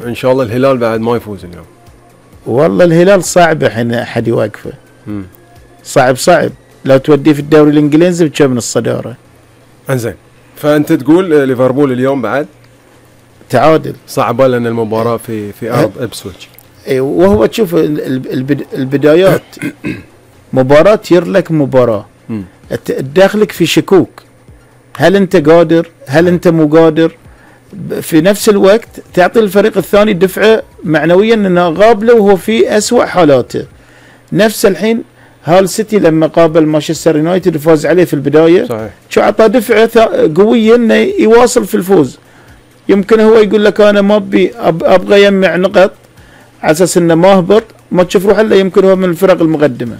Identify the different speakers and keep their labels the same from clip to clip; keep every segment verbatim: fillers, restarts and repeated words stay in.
Speaker 1: ان شاء الله الهلال بعد ما يفوز اليوم.
Speaker 2: والله الهلال صعب الحين احد يواقفه.
Speaker 1: مم.
Speaker 2: صعب صعب لو توديه في الدوري الانجليزي بتشوف من الصداره.
Speaker 1: انزين، فانت تقول ليفربول اليوم بعد
Speaker 2: تعادل
Speaker 1: صعبه لان المباراه في في ارض ابسويتش.
Speaker 2: اي وهو تشوف البدايات مباراه يرلك مباراه تدخلك في شكوك، هل انت قادر هل انت مو قادر، في نفس الوقت تعطي الفريق الثاني دفعه معنويا انه غاب وهو في اسوأ حالاته. نفس الحين هال سيتي لما قابل مانشستر يونايتد وفاز عليه في البدايه صحيح، شو اعطى دفعه قويه انه يواصل في الفوز. يمكن هو يقول لك انا ما ابي ابغى يجمع نقط على اساس انه ما هبط، ما تشوف روح الا يمكن هو من الفرق المقدمه.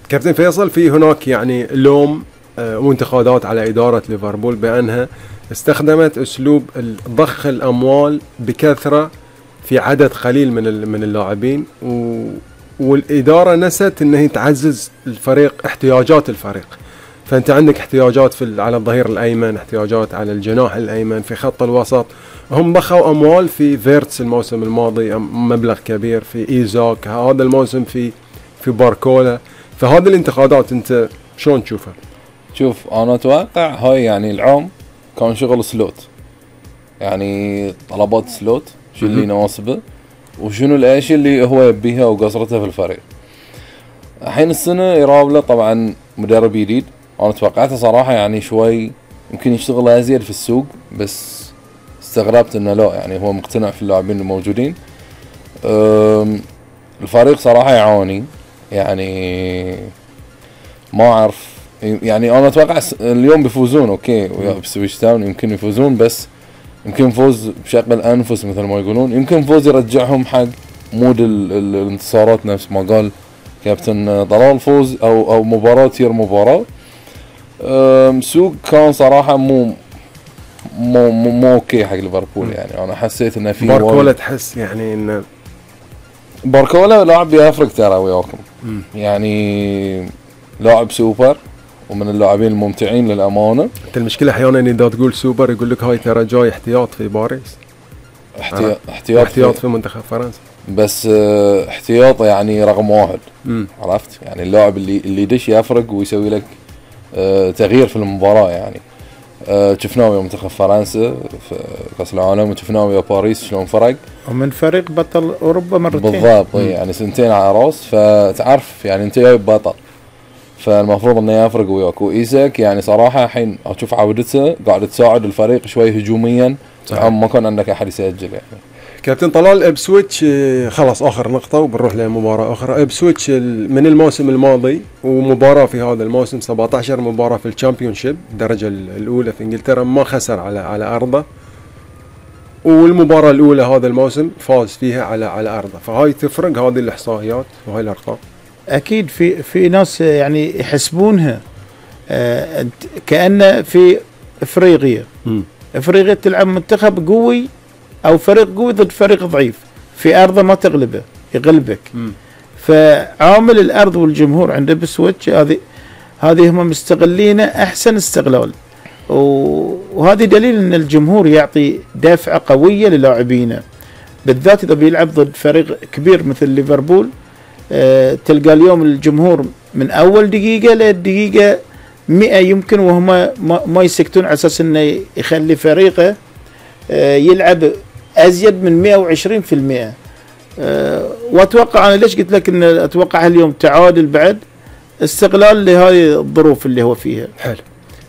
Speaker 1: كابتن فيصل، في هناك يعني لوم وانتقادات على اداره ليفربول بانها استخدمت اسلوب ضخ الاموال بكثره في عدد قليل من من اللاعبين، و والاداره نست انها تعزز الفريق احتياجات الفريق. فانت عندك احتياجات في على الظهير الايمن، احتياجات على الجناح الايمن، في خط الوسط هم ضخوا اموال في فيرتس الموسم الماضي مبلغ كبير، في ايزاك هذا الموسم في في باركولا. فهذه الانتقادات انت شلون تشوفها؟
Speaker 3: شوف انا اتوقع هاي يعني العام كان شغل سلوت، يعني طلبات سلوت شو اللي يناسبه وشنو الاشياء اللي هو يبيها وقصرتها في الفريق. الحين السنه يراب له طبعا مدرب جديد، انا توقعته صراحه يعني شوي يمكن يشتغل ازيد في السوق، بس استغربت انه لا، يعني هو مقتنع في اللاعبين الموجودين. الفريق صراحه يعاني، يعني ما اعرف، يعني انا اتوقع اليوم بيفوزون اوكي ويا بسويتش تاون يمكن يفوزون، بس يمكن فوز بشكل انفس مثل ما يقولون، يمكن فوز يرجعهم حق مود الانتصارات نفس ما قال كابتن طلال، فوز او او مباراه تصير مباراه. سوق كان صراحه مو مو مو, مو اوكي حق ليفربول، يعني انا حسيت انه في
Speaker 1: باركولا تحس يعني ان
Speaker 3: باركولا لاعب يفرق ترى وياكم، يعني لاعب سوبر ومن اللاعبين الممتعين للامانه.
Speaker 1: انت المشكله احيانا اذا تقول سوبر يقول لك هاي ترى جاي احتياط في باريس،
Speaker 3: احتياط احتياط,
Speaker 1: احتياط في, في منتخب فرنسا،
Speaker 3: بس اه احتياط يعني رقم واحد. مم. عرفت يعني اللاعب اللي اللي يدش يفرق ويسوي لك اه تغيير في المباراه، يعني اه شفناه ويا منتخب فرنسا في كاس العالم وشفناه ويا باريس شلون فرق،
Speaker 2: ومن فريق بطل اوروبا مرتين
Speaker 3: بالضبط. يعني سنتين على راس، فتعرف يعني انت جايب بطل، فالمفروض انه يفرق وياك. وايساك يعني صراحه الحين اشوف عودته قاعد تساعد الفريق شوي هجوميا، ما كان عندك احد يسجل. يعني
Speaker 1: كابتن طلال، ابسويتش خلاص اخر نقطه وبنروح لمباراه اخرى. ابسويتش من الموسم الماضي ومباراه في هذا الموسم سبعة عشر مباراه في الشامبيونشيب الدرجه الاولى في انجلترا ما خسر على على ارضه، والمباراه الاولى هذا الموسم فاز فيها على على ارضه. فهاي تفرق هذه الاحصائيات وهاي الارقام.
Speaker 2: اكيد في في ناس يعني يحسبونها آه كأنه في افريقيا م. افريقيا تلعب منتخب قوي او فريق قوي ضد فريق ضعيف في ارضه ما تغلبه يغلبك. م. فعامل الارض والجمهور عند بسويتش هذه هذه هم مستغلينه احسن استغلال، وهذه دليل ان الجمهور يعطي دافعه قويه للاعبينه، بالذات اذا بيلعب ضد فريق كبير مثل ليفربول. أه تلقى اليوم الجمهور من اول دقيقه للدقيقه مئة يمكن وهم ما, ما يسكتون على اساس انه يخلي فريقه أه يلعب ازيد من مئة وعشرين بالمئة. أه واتوقع انا ليش قلت لك ان اتوقع اليوم تعادل بعد استغلال لهذه الظروف اللي هو فيها.
Speaker 1: حلو.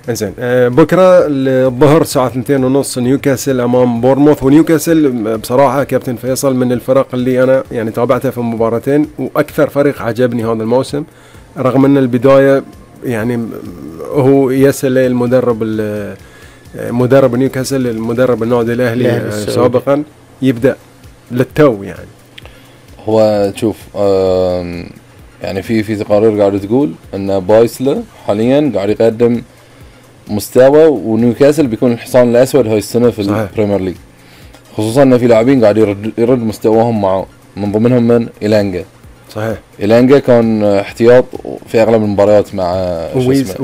Speaker 1: انزين أه بكره الظهر الساعه اثنتين ونص نيوكاسل امام بورموث. ونيوكاسل بصراحه كابتن فيصل من الفرق اللي انا يعني تابعتها في مباراتين واكثر فريق عجبني هذا الموسم، رغم ان البدايه يعني هو يسل المدرب مدرب نيوكاسل المدرب النادي الاهلي سابقا يبدا للتو. يعني
Speaker 3: هو شوف يعني في في تقارير قاعده تقول ان بايسلا حاليا قاعد يقدم مستوى، ونيوكاسل بيكون الحصان الاسود هاي السنه في البريمير ليج، خصوصا ان في لاعبين قاعد يرد, يرد مستواهم معه، من ضمنهم من إيلانجا.
Speaker 1: صحيح.
Speaker 3: إيلانجا كان احتياط في اغلب المباريات مع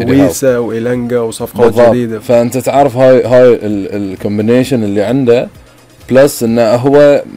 Speaker 1: ويسا وإيلانجا وصفقات جديده،
Speaker 3: فانت تعرف هاي هاي الكومبينيشن اللي عنده بلس انه هو